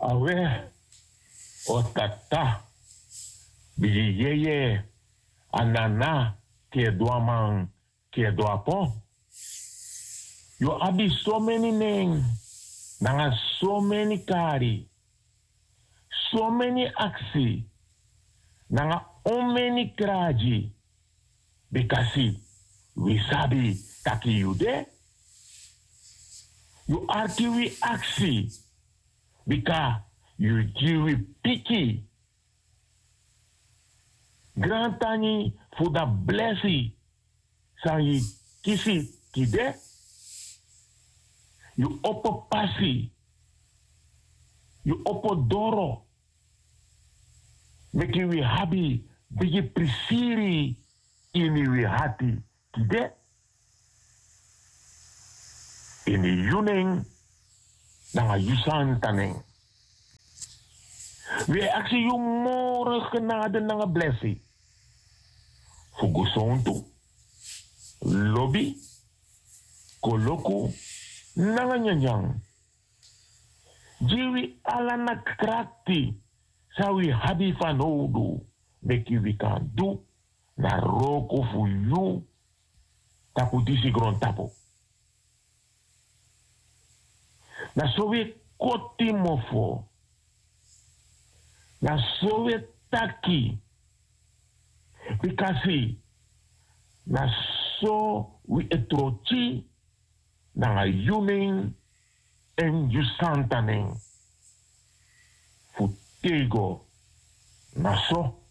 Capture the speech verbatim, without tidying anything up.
Awe, o tata, bigi yeye, a nana, keduaman, keduapo. Yu abi someni nen, nanga someni kari, someni aksi, nanga omeni kragi, bika si wi sabi taki yu de. Yu arki wi aksi, bika yu gi wi piki. Grantangi fu dan blesi san yu kisi tide. Yu opo pasi, yu opo doro, meki wi abi bigi prisiri ini wi hati tide. Ini yu nen nanga yu santa nen. Wi e aksi yu moro genade nanga blesi fu gesontu, lobi, koloku nanga nyanyan. Gi wi ala na krakti san wi abi fanowdu, meki wi kan du na wroko fu yu tapu disi grontapu. Na so wi e koti mofo. Na so wi e taki. Bika si, na so wi e troti nanga yu nen èn yu santa nen. Fu tego na so